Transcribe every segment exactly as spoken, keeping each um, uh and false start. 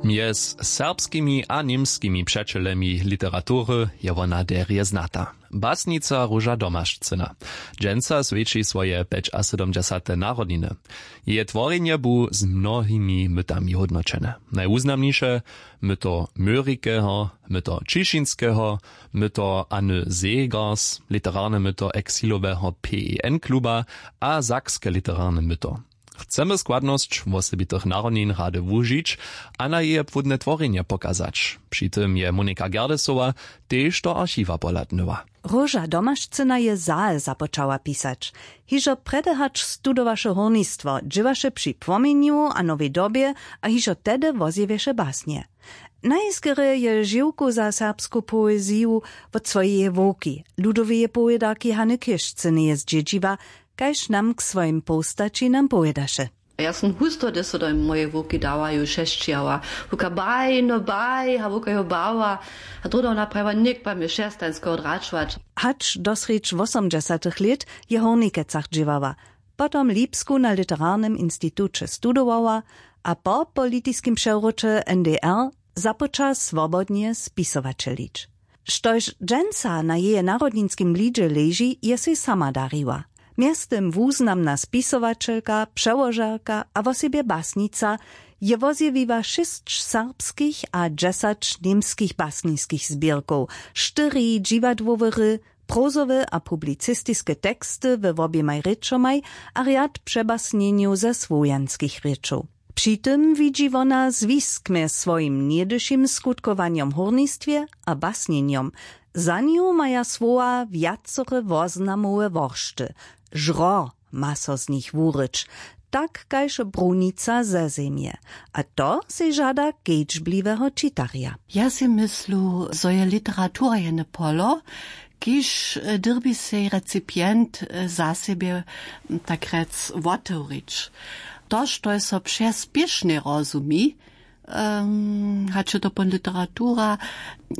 Mjez serbskimi a němskimi přećelemi literatury je wona derje znata. Basnica Róža Domašcyna dźensa swjeći swoje pjećasydomdźesate narodniny. Jeje tworjenje bu z mnohimi mytami hódnoćene. Najwuznamniše myto Myrikeho, myto Ćišinskeho, myto Anny Segers, literarne myto eksiloweho P E N kluba a sakske literarne myto. Chcemy składnosć wosebitych narodnin rady wužić a na jeje płódne tworjenje pokazać. Při tym je Monika Gerdesowa tež do archiwa pohladnyła. Róža Domašcyna je zahe započała pisać. Hižo prjedy hač studowaše hórnistwo, dźěłaše při Płomjenju a Nowej Dobje a hižo tehdy wozjewješe basnje. Najskerje je žiwku za serbsku poeziju wot swojeje wowki, ludoweje powědarki Hany Chěžcyneje zdźědźiła, kaž nam k swojim połstaćinam powědaše. Ja sym husto, hdyž so do mojeje wowki dała, ju šesćijała. Wowka baj, no baj, a wowka jo bała. A druhdy wona prajiła, něk pa mje šestań skoho dračować. Hač do srjedź wosomdźesatych lět je w Hórnikecach dźěłała. Potom Lipsku na literarnym instituće studowała a po politiskim přewróće N D R započa swobodnje spisowaćelić. Štož dźensa na jeje narodninskim blidźe leži, je sej sama dariła. Mjeztym wuznamna spisowaćelka, přełožerka a wosebje basnica, je wozjewiła šěsć serbskich a dźesać němskich basniskich zběrkow, štyri dźiwadłowe hry, prozowe a publicistiske teksty we woběmaj rěčomaj a rjad přebasnjenjow ze słowjanskich rěčow. Při tym widźi wona zwisk mjez swojim něhdyšim skutkowanjom w hórnistwje a basnjenjom. Za nju maja słowa wjacore woznamowe woršty. Žro ma so z nich wuryć, tak kaž brunica ze zemje. A to sej žada kedźbliweho čitarja. Ja sej myslu, zo je literatura jene polo, kiž, e, dyrbi sej recipient, e, za sebje, m, tak rjec wotewrić. To, što je so přez spěšnje rozumi, em, hač je to pon literatura,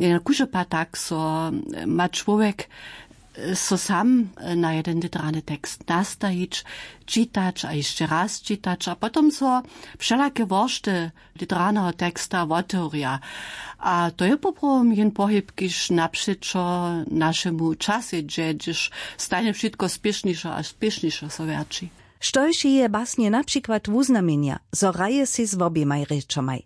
e, kužopa tak so, e, ma čłowjek, e, so sam, e, na jeden literarny tekst nastajić, čitać a hišće raz čitać a potom so wšelake woršty literarneho teksta wotewrja. A to je poprawom jen pohyb, kiž napřećo našemu časej dźe, hdyž stajnje wšitko spěšnišo a spěšnišo so wjerći. Štož jeje basnje na přikład wuznamjenja, zo hraje sej z woběmaj rěčomaj,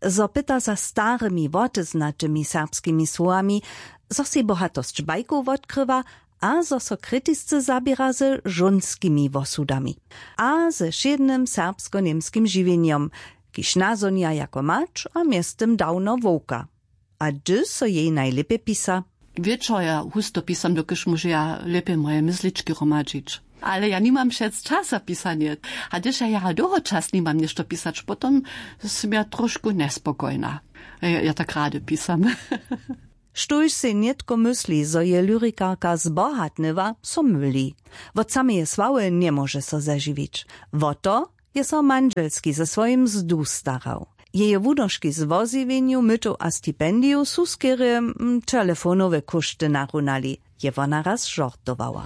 zo pyta za starymi woteznatymi serbskimi słowami, zo sej bohatosć bajkow wotkrywa a zo so kritisce zaběra ze žónskimi wosudami a ze wšědnym serbsko-němskim žiwjenjom, kiž nazhonja jako mać a mjeztym dawno wowka. A hdy so jej najlěpje pisa? Wječor ja husto pisam, dokelž móžeja lěpje moje myslički hromadźić. Ale ja nimam přec čas za pisanje. A hdyž ja jara dołho čas nimam něšto pisać, potom sym ja trošku njespokojna. Ja, ja tak rady pisam. Štóž sej nětko mysli, zo je lyrikarka zbohatnyła, so myli. Wot sameje sławy njemóže so zežiwić. Wo to je so mandźelski ze swojim mzdu starał. Jeje wunoški z wozjewjenju mytow a stipendijow su skerje, mm, telefonowe kóšty narunali, je wona raz žortowała.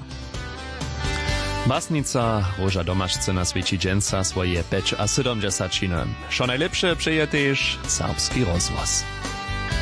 Basnica Róža Domašcyna swjeći dźensa swoje pjećasydomdźesaćiny. Wšo najlěpše přeje tež Serbski rozhłos.